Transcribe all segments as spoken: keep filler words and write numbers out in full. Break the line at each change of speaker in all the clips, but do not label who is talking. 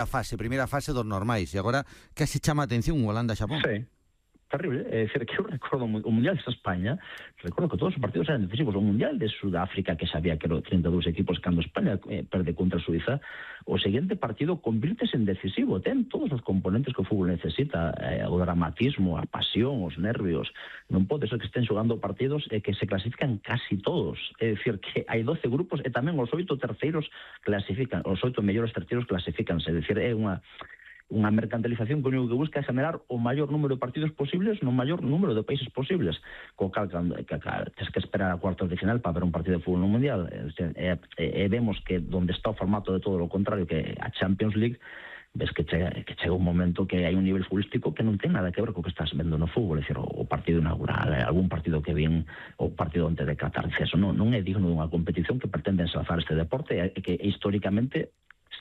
a fase, primeira fase dos normais, e agora case chama a atención Holanda-Xapón.
Sí. Terrible, é dicir, que eu recordo o Mundial de España, recordo que todos os partidos eran decisivos. O Mundial de Sudáfrica, que sabía que eran trinta e dous equipos, cando España eh, perde contra Suiza, o seguinte partido convírtese en decisivo, ten todos os componentes que o fútbol necesita, eh, o dramatismo, a pasión, os nervios. Non pode ser que estén xogando partidos e eh, que se clasifican casi todos, é dicir, que hai doce grupos e tamén os oito terceiros clasifican, os oito mellores terceiros clasificanse, é dicir, é unha unha mercantilización que o único que busca é generar o maior número de partidos posibles no maior número de países posibles, co cal que, que, que tens que esperar a cuartos de final para ver un partido de fútbol no Mundial, e, e, e vemos que donde está o formato de todo o contrario, que a Champions League, ves que chega, que chega un momento que hai un nivel futbolístico que non ten nada que ver co que estás vendo no fútbol, é dicir, o partido inaugural, algún partido que vin, o partido antes de Qatar, eso non, non é digno dunha competición que pretende ensalzar este deporte, e que históricamente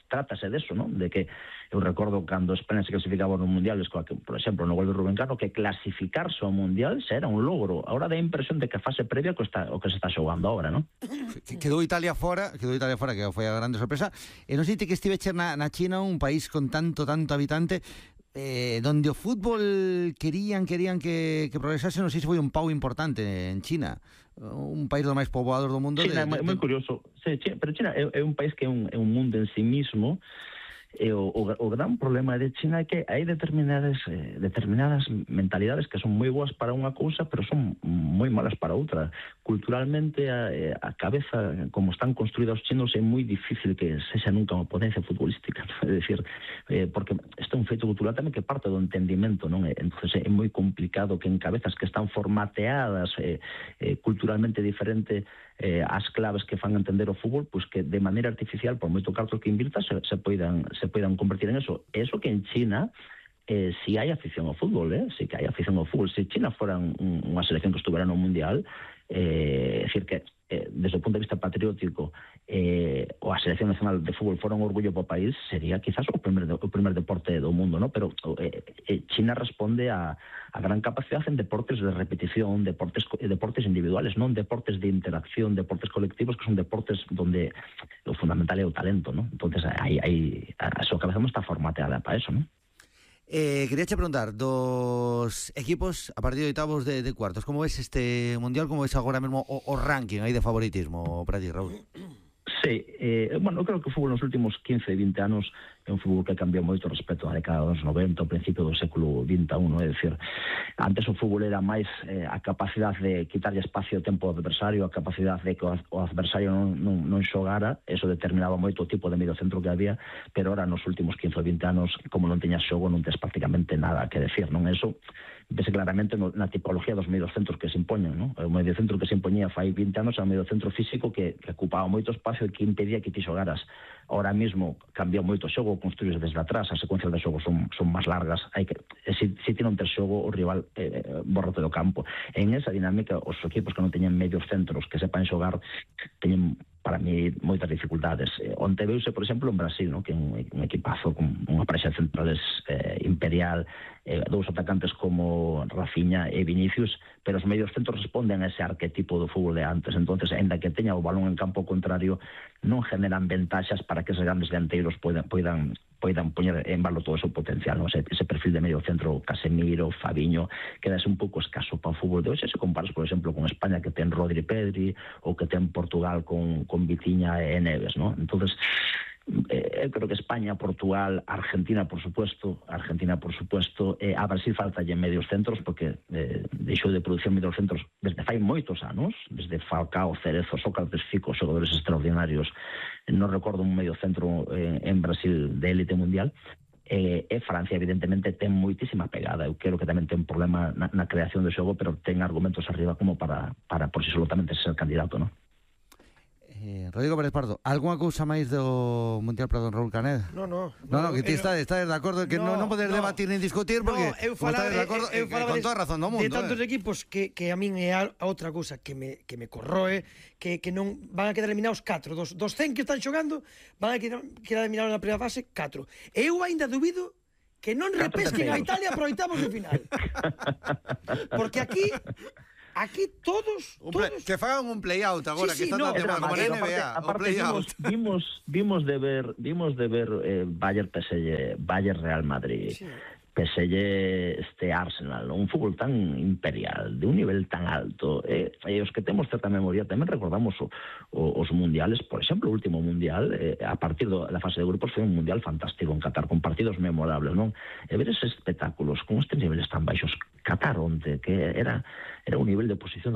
trátase deso, non? De que eu recordo cando España se clasificaba no Mundial, que, por exemplo, no gol de Rubén Cano, que clasificarse ao Mundial xa era un logro. Agora dá a impresión de que a fase previa que está, o que se está xogando agora, non?
Quedou Italia fora, quedou Italia fora, que foi a grande sorpresa. E non sei ti que estiveche na, na China, un país con tanto, tanto habitante, eh, donde o fútbol querían, querían que, que progresase, non sei se foi un pau importante en China, un país dos máis poboados do mundo.
China
de,
é moi curioso, sí, China, pero China é, é un país que é un, é un mundo en sí mismo. E o, o, o gran problema de China é que hai determinadas eh, determinadas mentalidades que son moi boas para unha cousa, pero son moi malas para outra. Culturalmente a, a cabeza, como están construídos os chinos, é moi difícil que sexa nunca unha potencia futbolística, é dicir, eh, porque este é un feito cultural tamén que parte do entendimento, non? Entonces é moi complicado que en cabezas que están formateadas eh, eh, culturalmente diferente eh, as claves que fan entender o fútbol, pois que de maneira artificial, por moito cartos que invirta, se, se poidan se poidan convertir en eso. Eso que en China eh, si hai afición ao fútbol, eh? Si que hai afición ao fútbol. Se China fora un, unha selección que estuvera no Mundial, eh, é dicir que eh, desde o punto de vista patriótico eh, ou a selección nacional de fútbol fora un orgullo para o país, sería quizás o primer, o primer deporte do mundo, ¿no? Pero eh, eh, China responde a, a gran capacidade en deportes de repetición, deportes deportes individuales, non deportes de interacción, deportes colectivos, que son deportes donde o fundamental é o talento, ¿no? Entonces hai, hai, a, a súa cabeza non está formateada para eso, ¿no?
Eh, quería che preguntar, dos equipos a partir de oitavos de, de cuartos, como ves este Mundial, como ves agora mesmo o, o ranking aí de favoritismo para ti, Raúl?
Sí, eh, bueno, eu creo que o fútbol nos últimos quince, vinte anos é un fútbol que cambiou moito respecto á década dos noventa, ao principio do século vinte e un, é dicir, antes o fútbol era máis eh, a capacidade de quitarlle espacio ao tempo ao adversario, a capacidade de que o adversario non, non, non xogara, eso determinaba moito o tipo de medio centro que había, pero ahora nos últimos quince ou vinte anos, como non teñas xogo, non tes prácticamente nada que decir, non? Eso vese claramente no, na tipología dos medios centros que se impoñen, non? O medio centro que se impoñía fai vinte anos é un medio centro físico que, que ocupaba moito espacio e que impedía que ti xogaras. Ahora mismo cambiou moito o xogo, construíse desde atrás, as secuencias de xogo son, son máis largas, hai que, se, se ti non tes xogo, o rival eh, borrate do campo. En esa dinámica, os equipos que non teñen medios centros que sepan xogar, teñen para mí moitas dificultades. Eh, onte veuse, por exemplo, en Brasil, ¿no? Que é un, un equipazo con unha parexa de centrales eh, imperial, eh, dous atacantes como Rafinha e Vinicius, pero os medios centros responden a ese arquetipo do fútbol de antes. Entonces, ainda que teña o balón en campo contrario, non generan ventaxas para que esos grandes delanteiros poidan, poidan poidan poñer en valor todo o seu potencial, ¿no? Ese, ese perfil de medio centro, Casemiro, Fabiño, quedase un pouco escaso para o fútbol de hoxe. Se comparas, por exemplo, con España, que ten Rodri, Pedri, ou que ten Portugal con, con Vitinha e Neves, ¿no? Entonces, eh, eu creo que España, Portugal, Argentina, por supuesto, Argentina, por supuesto, eh, a Brasil falta en medios centros, porque eh, deixou de producir medios centros desde fai moitos anos, desde Falcao, Cerezo, Sócrates, Fico, xogadores extraordinarios. Non recordo un medio centro eh, en Brasil de élite mundial. Eh, e Francia, evidentemente, ten moitísima pegada. Eu creo que tamén ten un problema na, na creación de xogo, pero ten argumentos arriba como para, para por si solamente ser candidato, non?
Eh, Rodrigo Pérez Pardo, algunha cousa máis do Mundial para don Raúl Canet?
No, no.
No, no, que ti está, está de acordo que non no, no podes no, debatir nin discutir porque
no, eu falaba,
de acordo, eu, eu falaba con toda razón do mundo.
De tantos
eh.
equipos que, que a min é a, a outra cousa que me, que me corroe, que, que non van a quedar eliminados catro. Dos, dos cen que están xogando van a quedar, quedar eliminados na primeira fase catro. Eu ainda dubido que non repesquen a Italia para oitavos de final. Porque aquí aquí todos,
Un play,
todos...
que fagan un play-out agora,
Sí, sí,
que está
no,
tan de moda, como na N B A, o
aparte
play-out.
vimos, vimos, vimos de ver, vimos de ver eh, Bayern P S G, Bayern Real Madrid,
Sí.
P S G este Arsenal, un fútbol tan imperial, de un nivel tan alto, eh, e os que temos certa memoria tamén recordamos o, o, os mundiales, por exemplo, o último mundial, eh, a partir da fase de grupos foi un mundial fantástico en Qatar, con partidos memorables, non? E ver eses espectáculos con estes niveles tan baixos, Qatar onte, que era era un nivel de posición